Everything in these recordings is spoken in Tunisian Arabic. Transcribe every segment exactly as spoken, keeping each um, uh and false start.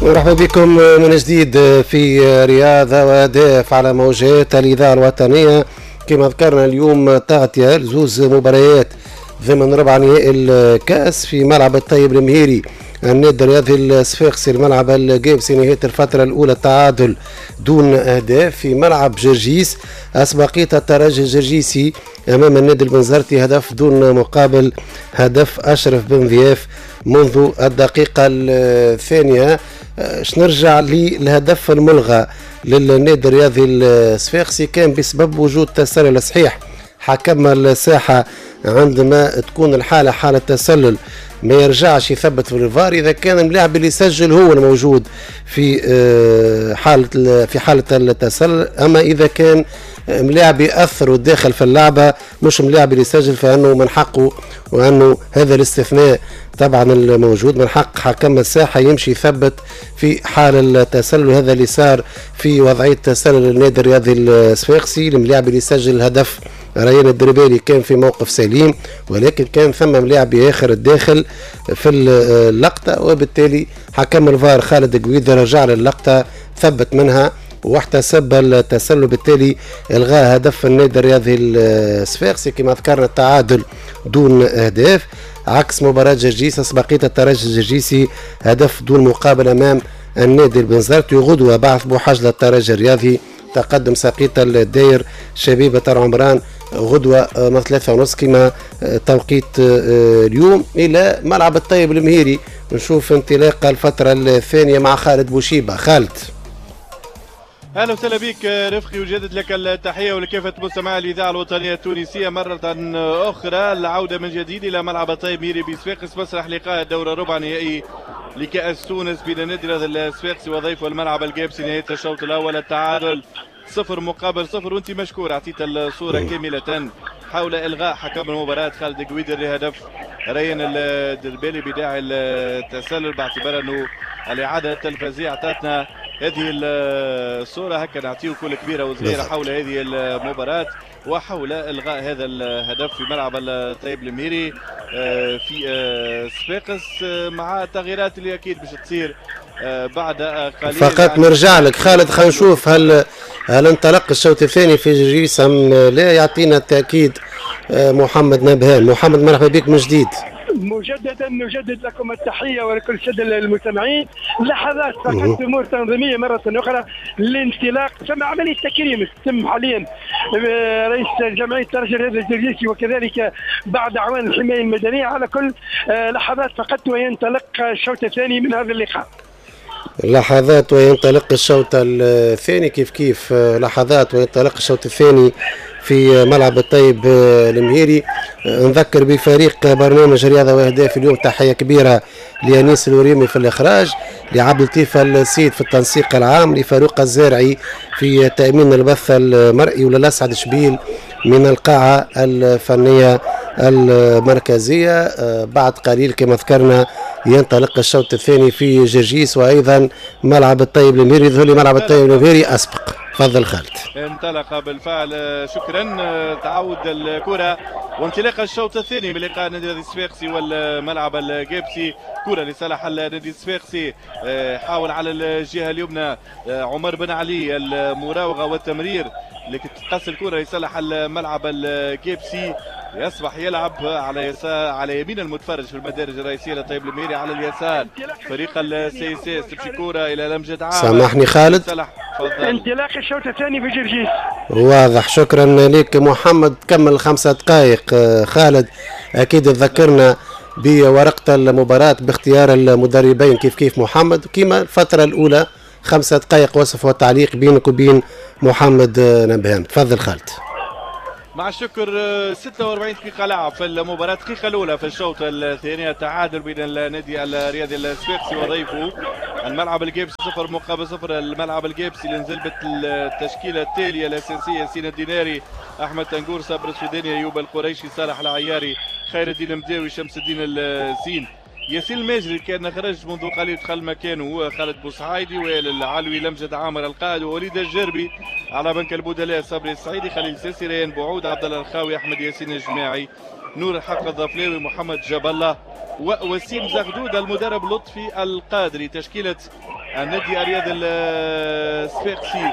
مرحبا بكم من جديد في رياضة وأهداف على موجات الإذاعة الوطنية. كما ذكرنا اليوم تغطية لزوز مباريات ضمن ربع نهائي الكأس في ملعب الطيب المهيري، النادي الرياضي الصفاقسي الملعب القابسي نهاية الفترة الأولى تعادل دون أهداف. في ملعب جرجيس أسبقية الترجي الجرجيسي أمام النادي البنزرتي هدف دون مقابل، هدف أشرف بن ضياف منذ الدقيقة الثانية. باش نرجع للهدف الملغى للنادي الرياضي الصفاقسي كان بسبب وجود تسلل. صحيح حكم الساحة عندما تكون الحالة حالة تسلل ما يرجعش يثبت في الفار إذا كان اللاعب اللي سجل هو الموجود في حالة في حالة التسلل، أما إذا كان ملاعب يأثر وداخل في اللعبة مش ملاعب اللي يسجل فإنه من حقه، وأنه هذا الاستثناء طبعا الموجود من حق حكم الساحة يمشي يثبت في حال التسلل. هذا اللي صار في وضعية تسلل النادي الرياضي الصفاقسي، الملاعب اللي سجل الهدف ريان الدربالي كان في موقف سليم، ولكن كان ثم ملاعب اخر الداخل في اللقطة، وبالتالي حكم الفار خالد قويدة رجع للقطة ثبت منها واحتسب التسلل، بالتالي الغاء هدف النادي الرياضي الصفاقسي. كما ذكرنا التعادل دون اهداف عكس مباراة جرجيس، اسبقية الترجي الجرجيسي هدف دون مقابل امام النادي البنزرتي. غدوة بعث بوحجلة الترجي الرياضي، تقدم ساقية الداير شبيبة العمران غدوة من ثلاثة ونص كما توقيت اليوم. إلى ملعب الطيب المهيري نشوف انطلاق الفترة الثانية مع خالد بوشيبة. خالد اهلا وسهلا بك رفقي، وجدد لك التحية ولكافه مستمعي الاذاعة الوطنية التونسية مرة اخرى. العودة من جديد الى ملعب الطيب مهيري بصفاقس، مسرح لقاء الدور الربع نهائي لكاس تونس بين النادي الصفاقسي وضيفه الملعب القابسي. نهاية الشوط الاول التعادل صفر مقابل صفر، وانت مشكور اعطيت الصورة كاملة حول الغاء حكم المباراة خالد قويدر لهدف ريان الدربالي بداعي التسلل، باعتبار انه الاعادة التلفزيونية اعطتنا هذه الصورة. هكا نعطيه كل كبيرة وصغيره حول هذه المباراة وحول الغاء هذا الهدف في ملعب الطيب المهيري في صفاقس، مع التغييرات اللي اكيد باش تصير بعد قليل. فقط نرجع لك خالد، خلينا نشوف هل هل انطلق الشوط الثاني في جرجيس ام لا. يعطينا التاكيد محمد نبهان. محمد مرحبا بك من جديد. مجددا نجدد لكم التحية ولكل السادة المستمعين. لحظات فقط امور تنظيميه مرة اخرى للانطلاق، ثم عملية تكريم تتم حاليا رئيس جمعية الترجي الرياضي الجرجيسي وكذلك بعد اعوان الحماية المدنية. على كل لحظات فقط وينطلق الشوط الثاني من هذا اللقاء. لحظات وينطلق الشوط الثاني، كيف كيف لحظات وينطلق الشوط الثاني في ملعب الطيب المهيري. نذكر بفريق برنامج رياضة وأهداف اليوم، تحية كبيرة لأنيس الوريمي في الإخراج، لعبد اللطيف السيد في التنسيق العام، لفاروق الزارعي في تأمين البث المرئي، وللأسعد شبيل من القاعة الفنية المركزية. بعد قليل كما ذكرنا ينطلق الشوط الثاني في جرجيس وأيضا ملعب الطيب المهيري. يظهر لي ملعب الطيب المهيري أسبق. تفضل خالد. انطلق بالفعل، شكرا. تعود الكرة وانطلاق الشوط الثاني من لقاء النادي الصفاقسي والملعب القابسي. كرة لصالح النادي الصفاقسي، حاول على الجهة اليمنى عمر بن علي المراوغة والتمرير، لكن تقص الكرة لصالح الملعب القابسي. يصبح يلعب على يسار على يمين المتفرج في المدارج الرئيسية لطيب المهيري على اليسار فريق ال CSS. تمشي كرة الى لمجد عامر. سامحني خالد، انطلاق الشوط الثاني في جرجيس. واضح، شكرا لك محمد. كمل خمسة دقائق خالد، اكيد تذكرنا بورقة المباراة باختيار المدربين كيف كيف محمد، كما الفترة الأولى خمسة دقائق وصف وتعليق بينك وبين محمد نبهان. تفضل خالد. مع الشكر. ستة وأربعين دقيقة لعب في المباراة، الدقيقة الأولى في الشوط الثاني، التعادل بين النادي الرياضي الصفاقسي وضيفه الملعب القابسي صفر مقابل صفر. الملعب القابسي اللي نزل بالتشكيلة التالية الأساسية: سينا الديناري، أحمد تنقور، صابر السوداني، أيوب القريشي، صالح العياري، خير الدين المداوي، شمس الدين الزين، ياسين الماجري كان خرج منذ قليل دخل مكانه خالد بوسعايدي، وائل العلوي، لمجد عامر القائد، ووليد الجربي. على بنك البدلاء صبري السعيدي، خليل ساسي، ريان بوعود، عبد الله الخاوي، احمد ياسين الجماعي، نور الحق الظفلاوي، محمد جاب الله، ووسيم زغدود. المدرب لطفي القادري. تشكيله النادي الرياضي الصفاقسي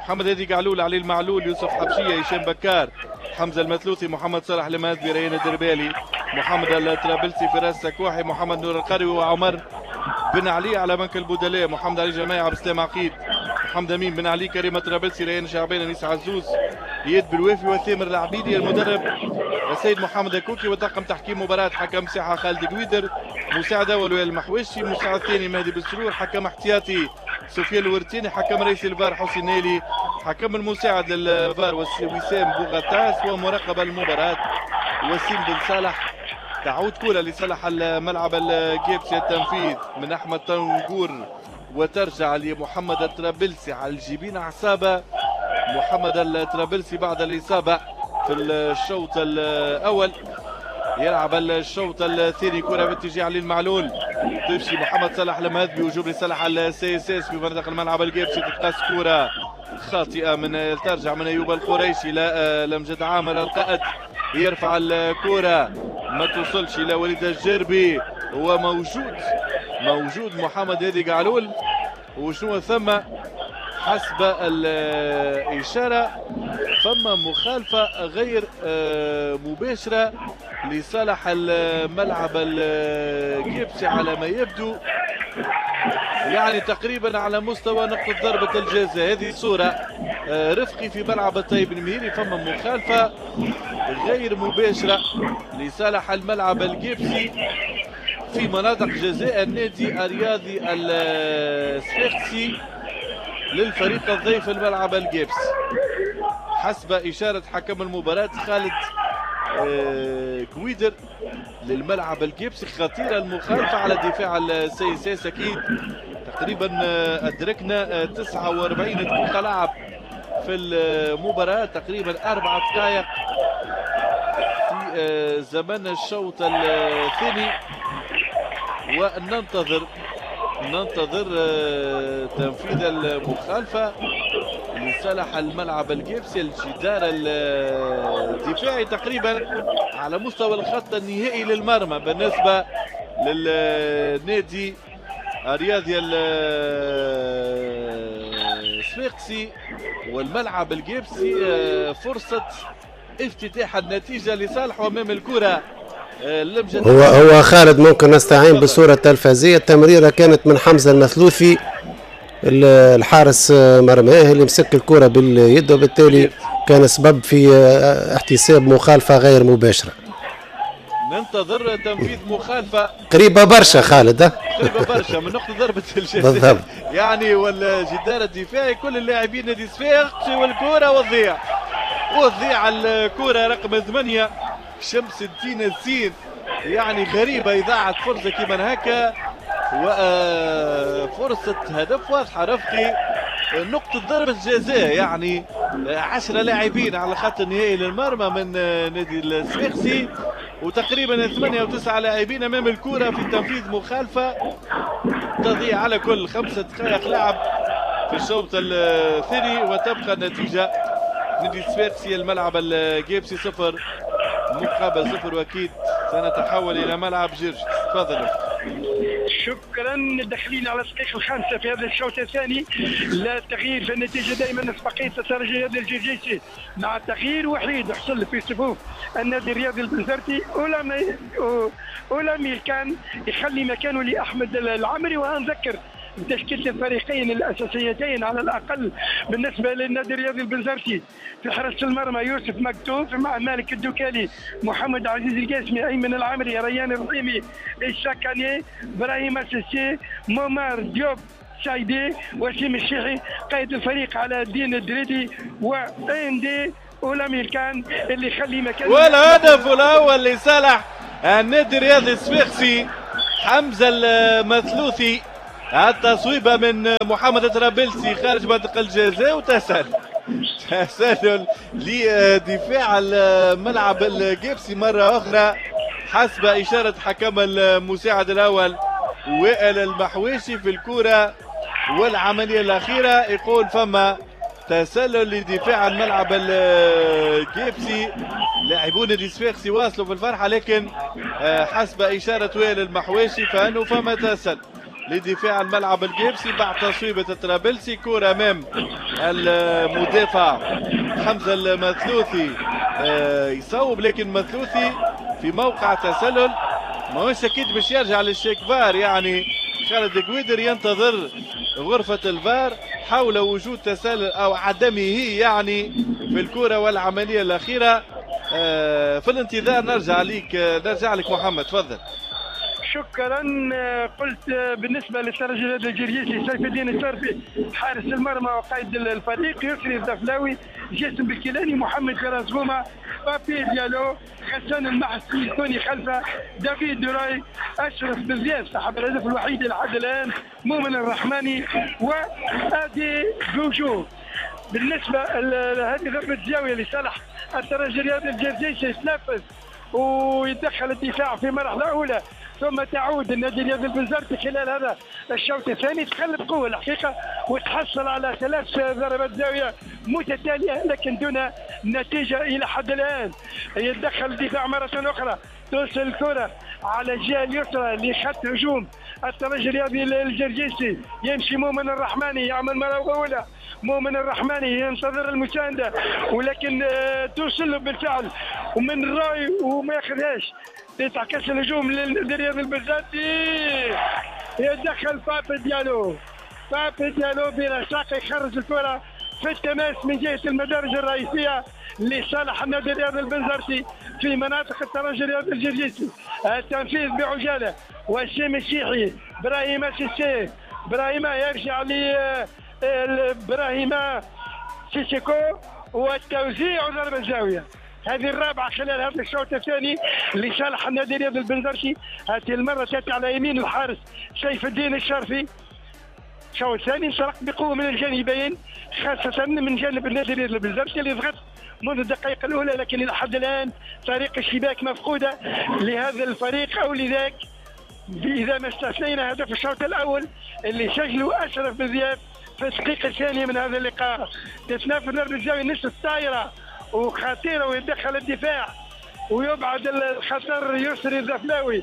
محمد هادي قعلول، علي المعلول، يوسف حبشيه، هشام بكار، حمزة المثلوثي، محمد صالح المهذبي، ريان الدربالي، محمد الطرابلسي، فراس سكوحي، محمد نور القروي، وعمر بن علي. على بنك البدلاء محمد علي جماعي، عبد السلام عقيد، محمد امين بن علي، كريم الطرابلسي، ريان شعبان، انيس عزوز، اياد بالوافي، وثامر العبيدي. المدرب السيد محمد الكوكي، وطاقم تحكيم مباراة حكم ساحة خالد قويدر، مساعد اول وائل المحوشي، مساعد ثاني مهدي بالسرور، حكم احتياطي سفيان الورتيني، حكم رئيس الفار حسين نالي، حكم المساعد للفار وسام بوغطاس، ومراقب المباراة وسيم بن صالح. تعود كرة لصالح الملعب الجابسي، التنفيذ من احمد طنجور وترجع لمحمد الطرابلسي على الجبين عصابة. محمد الطرابلسي بعد الإصابة في الشوط الأول يلعب الشوط الثاني. كرة باتجاه علي المعلول، تمشي محمد صلاح المهذبي وجوب لصالح ال CSS في منطقة الملعب الجابسي، تتقاس كرة خاطئة من ترجع من أيوب القريشي لمجد عامر القائد، يرفع الكرة ما توصلش إلى وليد الجربي، هو موجود موجود محمد هادي قعلول. وشنو ثم حسب الإشارة فما مخالفة غير مباشرة لصالح الملعب الجبسي على ما يبدو، يعني تقريبا على مستوى نقطة ضربة الجزاء. هذه صورة رفقي في ملعب الطيب المهيري، فما مخالفة غير مباشرة لصالح الملعب الجبسي في مناطق جزاء النادي الرياضي الصفاقسي للفريق الضيف الملعب الجبسي حسب إشارة حكم المباراة خالد كويدر للملعب الجبسي. خطيرة المخالفة على دفاع ال CSS، أكيد تقريبا أدركنا تسعة وأربعين دقيقة لعب في المباراة، تقريبا أربع دقائق في زمن الشوط الثاني، وننتظر ننتظر تنفيذ المخالفة لصالح الملعب الجبسي. الجدار الدفاعي تقريبا على مستوى الخط النهائي للمرمى بالنسبة للنادي الرياضي الصفاقسي والملعب الجبسي. فرصة افتتاح النتيجة لصالحه أمام الكرة. هو هو خالد ممكن نستعين بالصورة التلفزية. التمريرة كانت من حمزة المثلوثي الحارس مرماه اللي مسك الكرة باليد، وبالتالي كان سبب في احتساب مخالفة غير مباشرة. ننتظر تنفيذ مخالفة قريبة برشا خالد، قريبة برشا من نقطة ضربة الجزاء بالضبط، يعني والجدار الدفاعي كل اللاعبين نادي صفاقسي، والكرة وتضيع وتضيع الكرة رقم ثمانية شمس الدين الزين. يعني غريبة إضاعة فرصة كيما هكا، وفرصة هدف واضحة رفقي، نقطة ضربة جزاء، يعني عشرة لاعبين على الخط النهائي للمرمى من نادي الصفاقسي، وتقريبا ثمانية وتسعة لاعبين أمام الكرة في تنفيذ مخالفة تضيع على كل خمسة دقائق لعب في الشوط الثاني، وتبقى النتيجة نادي الصفاقسي الملعب الجابسي صفر مقابل صفر. واكيد سنتحول الى ملعب جرجس. تفضل. شكرا. داخلين على الدقيقة الخامسة في هذا الشوط الثاني، لا تغيير في النتيجة، دائما اسبقيه الترجي الرياضي الجرجيسي مع تغيير وحيد حصل في صفوف النادي الرياضي البنزرتي، اولاميل كان يخلي مكانه لاحمد العمري. وانذكر بتشكيله الفريقين الاساسيتين على الاقل بالنسبة للنادي الرياضي البنزرتي، في حراسة المرمى يوسف مكتوف مع مالك الدكالي، محمد عزيز القاسمي، ايمن العمري، ريان الرحيمي، الشاكاني، ابراهيم السيسي، مومار ديوب سايدي، وسيم الشيحي، قائد الفريق على الدين الدريدي، واندي اولاميل كان اللي يخلي مكان. والهدف الاول لصالح النادي الرياضي الصفاقسي حمزة المثلوثي، التصويبه من محمد طرابلسي خارج منطقة الجزاء، وتسلل تسلل لدفاع الملعب الجبسي مرة اخرى حسب اشارة حكم المساعد الاول وائل المحويشي في الكره والعملية الاخيرة. يقول فما تسلل لدفاع الملعب الجبسي، لاعبون الصفاقسي واصلوا في الفرحة، لكن حسب اشارة وائل المحويشي فانه فما تسلل. لدفاع الملعب القابسي بعد تصويبة الطرابلسي. كرة أمام المدافع حمزة المثلوثي يصوب، لكن المثلوثي في موقع تسلل، ماهوش أكيد باش يرجع للشيك فار. يعني خالد قويدر ينتظر غرفة الفار حول وجود تسلل أو عدمه يعني في الكرة والعملية الأخيرة. في الانتظار نرجع لك، نرجع لك محمد، تفضل. شكرا. قلت بالنسبة للترجي الجرجيسي سيف الدين الشرفي حارس المرمى وقائد الفريق، يسري الدفلاوي، جاسم بالكيلاني، محمد فراس غومه، بابي ديالو، غسان المحسي، توني خلفه، دافيد دوراي، اشرف بزياف صاحب الهدف الوحيد لحد الان، مؤمن الرحماني، وادي جوجو. بالنسبة لهذه ضربه الزاوية لصالح الترجي الرياضي الجرجيسي يتنفذ ويدخل الدفاع في مرحلة اولى، ثم تعود النادي الرياضي البنزرتي خلال هذا الشوط الثاني، تخلف قوة الحقيقة وتحصل على ثلاث ضربات زاوية متتالية لكن دون نتيجة الى حد الان. يتدخل الدفاع مرة اخرى، توصل الكره على الجهة اليسرى لخط هجوم الترجي الرياضي الجرجيسي، يمشي مؤمن الرحماني يعمل مراوغه اولى، مؤمن الرحماني ينتظر المساندة ولكن توصل له بالفعل ومن راي وما ياخذهاش. يتعكس الهجوم للرياض البنزرتي، يدخل بابي ديالو، بابي ديالو برشاقه يخرج الكره في التماس من جهة المدارج الرئيسية لصالح النادي الرياضي البنزرتي في مناطق الترجي الرياضي الجرجيسي. التنفيذ بعجاله، وسيم الشيحي، ابراهيم سيسي، ابراهيم يرجع ل ابراهيم سيسيكو والتوزيع ضربه الزاوية. هذه الرابعة خلال هذا الشوط الثاني لصالح النادي الرياضي البنزرتي، هذه المرة تاتي على يمين الحارس سيف الدين الشرفي. الشوط الثاني انطلق بقوة من الجانبين، خاصة من جانب النادي الرياضي البنزرتي اللي ضغط منذ الدقائق الاولى، لكن الى حد الان طريق الشباك مفقودة لهذا الفريق او لذاك، اذا ما استثنينا هدف الشوط الاول اللي سجله اشرف بزياف في الدقيقة الثانية من هذا اللقاء. تتنافس ضربه الزاوية نصف الطايره وخطيرة ويتدخل الدفاع ويبعد الخطر يسري الزفلاوي.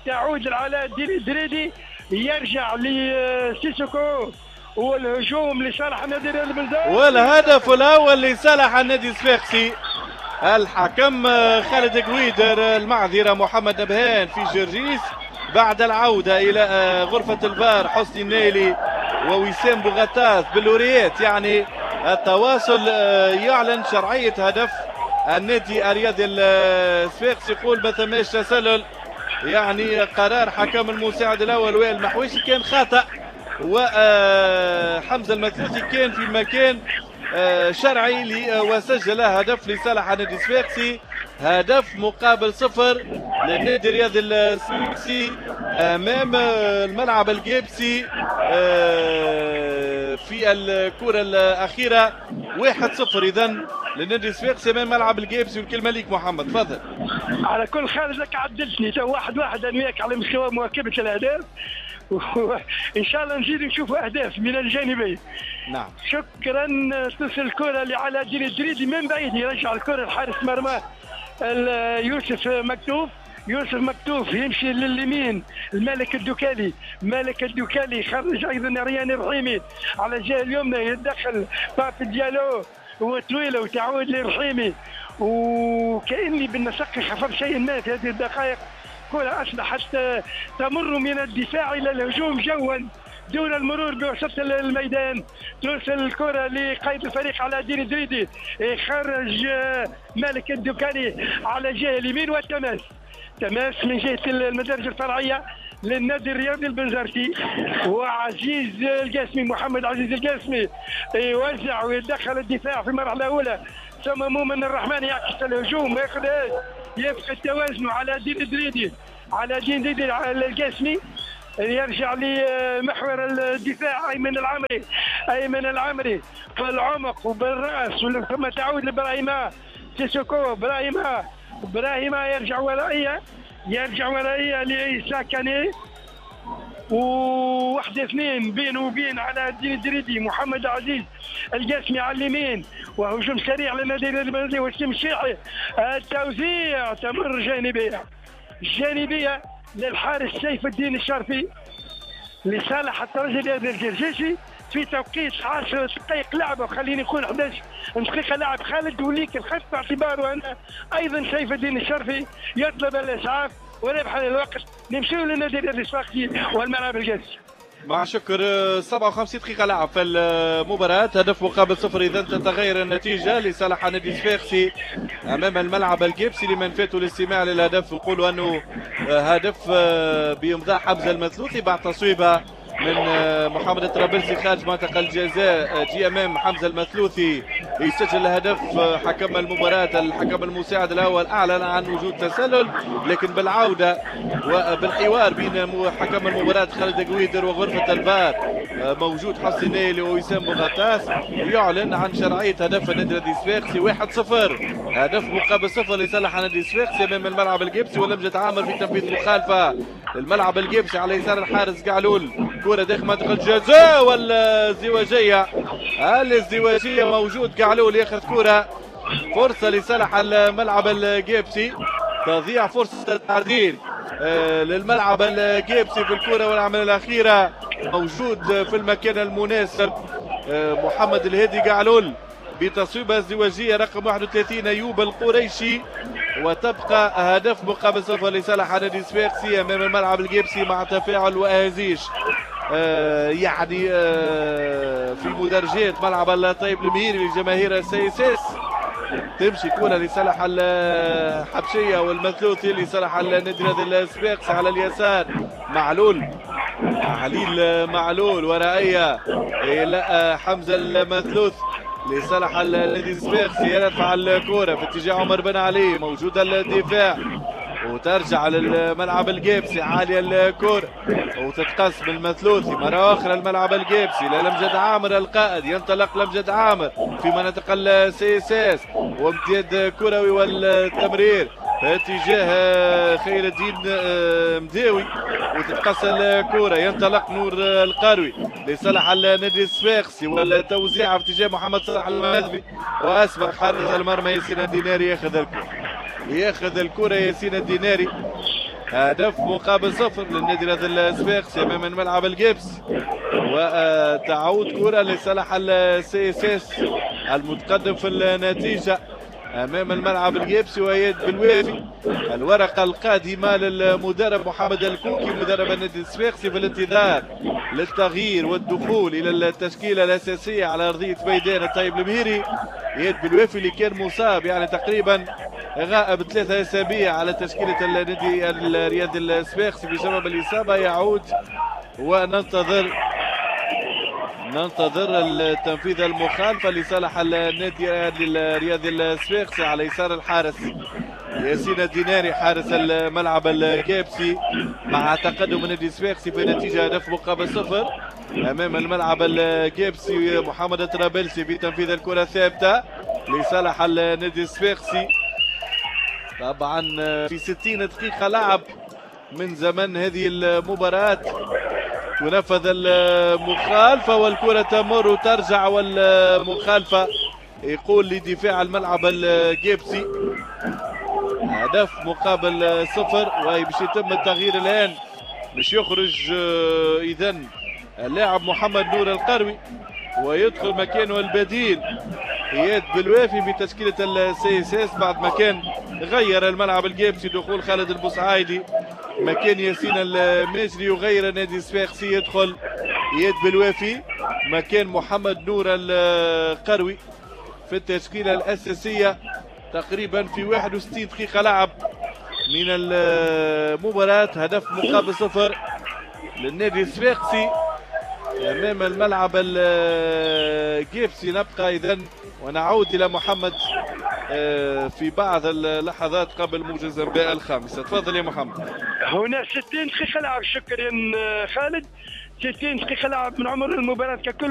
تعود العلاء الدريدي، يرجع لسيسوكو والهجوم لصالح النادي البنزرتي، والهدف الاول لصالح النادي الصفاقسي. الحكم خالد قويدر، المعذره محمد نبهان في جرجيس بعد العودة الى غرفة الفار، حسني النايلي ووسام بوغطاس باللوريات. يعني التواصل يعلن شرعية هدف النادي الرياضي الصفاقسي، يقول ما ثماش تسلل. يعني قرار حكم المساعد الاول وائل المحويشي كان خطأ، وحمزة المثلوثي كان في مكان شرعي وسجل هدف لصالح النادي الصفاقسي، هدف مقابل صفر للنادي الرياضي الصفاقسي امام الملعب الجابسي في الكرة الأخيرة، واحد صفر إذا للنادي الصفاقسي امام ملعب الجابسي. والكلمة ليك محمد، تفضل. على كل خالد لك عدلتني تو واحد واحد انا وياك على مستوى مواكبة الأهداف، وان شاء الله نزيد نشوفوا اهداف من الجانبين. نعم شكرا. تصل الكره لعلاء الدين الدريدي من بعيد، يرجع الكره لحارس مرمى يوسف مكتوف، يوسف مكتوف يمشي لليمين الملك الدكالي، مالك الدكالي خرج ايضا ريان الرحيمي على الجهة اليمنى، يتدخل بابي ديالو وطويلة وتعود للرحيمي، وكاني بالنسق خفف شيء ما في هذه الدقائق. كرة أصبحت تمر من الدفاع إلى الهجوم جوا دون المرور بوسط الميدان. توصل الكرة لقائد الفريق على دين الدريدي، يخرج مالك الدكاني على الجهة اليمين، والتماس تماس من جهة المدارج الفرعية للنادي الرياضي البنزرتي، وعزيز القاسمي، محمد عزيز القاسمي يوزع ويدخل الدفاع في المرحلة الأولى، ثم مؤمن الرحمن يعكس الهجوم وياخذ يفقد توازنه على دين الدريدي، على دين دريدي على القاسمي، يرجع لمحور الدفاع ايمن العمري، ايمن العمري في العمق وبالراس، ثم تعود لابراهيم سيسوكو، ابراهيم ابراهيم يرجع ورائيه، يرجع ورائيه لعيسى كاني، وواحد اثنين بينه وبين على الدين الدريدي، محمد عزيز القاسمي على اليمين، وهجوم سريع للنادي البلدي وسيم الشيحي، التوزيع تمر جانبيه، جانبيه للحارس سيف الدين الشرفي. لصالح الترجي الرياضي الجرجيسي في توقيت عشر دقائق لعب، وخليني نقول احداش دقيقة لعب. خالد وليك الخط باعتباره أن أيضا سيف الدين الشرفي يطلب الإسعاف وربح الوقت. نمشيو للنادي الرياضي الصفاقسي والملعب القابسي. مع شكر. سبعة وخمسين دقيقة لعب في المباراة، هدف مقابل صفر. إذا تتغير النتيجة لصالح النادي الصفاقسي أمام الملعب القابسي. لمن فاتوا الاستماع للهدف نقولوا أنه هدف بإمضاء حمزة المثلوثي بعد تصويبه من محمد الطرابلسي خارج منطقة الجزاء. جي امام حمزة المثلوثي يسجل هدف. حكم المباراة الحكم المساعد الأول أعلن عن وجود تسلل، لكن بالعودة وبالحوار بين حكم المباراة خالد قويدر وغرفة الفار موجود حسين نايلي ووسام بوغطاس يعلن عن شرعية هدف النادي الصفاقسي واحد صفر. هدف مقابل صفر لصالح النادي الصفاقسي أمام الملعب القابسي. ولمجد عامر في تنفيذ مخالفة الملعب القابسي على يسار الحارس قعلول. كرة داخل منطقة الجزاء والازدواجية، الازدواجية موجود قعلول ياخذ كرة، فرصة لصالح الملعب القابسي، تضيع فرصة التعديل للملعب القابسي في الكرة والعملية الأخيرة موجود في المكان المناسب محمد الهادي قعلول بتصويبة ازدواجية رقم واحد وثلاثين أيوب القريشي، وتبقى هدف مقابل صفر لصالح النادي الصفاقسي أمام الملعب القابسي مع تفاعل وأهازيج آه يعني آه في مدرجات ملعب الطيب المهيري لجماهير ال CSS. تمشي كرة لصالح الحبشية والمثلوثي لصالح النادي الصفاقسي على اليسار. معلول، عليل معلول ورائية إلى حمزة المثلوث لصالح النادي الصفاقسي، يرفع الكرة في اتجاه عمر بن علي، موجودة الدفاع وترجع للملعب القابسي، عالية الكرة وتتقسم المثلوثي مرة أخرى الملعب القابسي لمجد عامر القائد، ينطلق لمجد عامر في مناطق ال CSS وامتداد كروي والتمرير في اتجاه خير الدين مداوي وتتقص الكرة، ينطلق نور القروي لصالح النادي الصفاقسي والتوزيع في اتجاه محمد صلاح المهذبي، وأسبق حارس المرمى ياسين الديناري ياخذ الكرة، ياخذ الكرة ياسين الديناري. هدف مقابل صفر للنادي الصفاقسي امام الملعب القابسي، وتعود كرة لصالح ال CSS المتقدم في النتيجة امام الملعب القابسي وإياد بالوافي. الورقة القادمة للمدرب محمد الكوكي مدرب النادي الصفاقسي في الانتظار للتغيير والدخول الى التشكيلة الأساسية على أرضية ميدان الطيب المهيري. إياد بالوافي اللي كان مصاب يعني تقريبا غائب ثلاثة أسابيع على تشكيلة النادي الرياضي الصفاقسي بسبب الإصابة، يعود وننتظر ننتظر التنفيذ المخالفة لصالح النادي الرياضي الصفاقسي على يسار الحارس ياسين الديناري حارس الملعب القابسي، مع تقدم النادي الصفاقسي بنتيجة هدف مقابل صفر أمام الملعب القابسي. محمد الطرابلسي في تنفيذ الكرة الثابتة لصالح النادي الصفاقسي، طبعا في ستين دقيقة لعب من زمن هذه المباراة تنفذ المخالفة والكرة تمر وترجع، والمخالفة يقول لدفاع الملعب القابسي. هدف مقابل صفر، وباش يتم التغيير الآن باش يخرج إذن اللاعب محمد نور القروي ويدخل مكانه البديل إياد بالوافي في تشكيلة ال CSS بعد ما كان غير الملعب القابسي دخول خالد البوسعايدي مكان ياسين الماجري، يغير النادي الصفاقسي يدخل إياد بالوافي مكان محمد نور القروي في التشكيلة الأساسية. تقريبا في واحد وستين دقيقة لعب من المباراة، هدف مقابل صفر للنادي الصفاقسي أمام الملعب القابسي. نبقى إذن ونعود إلى محمد في بعض اللحظات قبل موجز الأنباء الخامسة. تفضل يا محمد. هنا ستين دقيقة لعب، شكرا خالد. ستين دقيقة لعب من عمر المباراة ككل.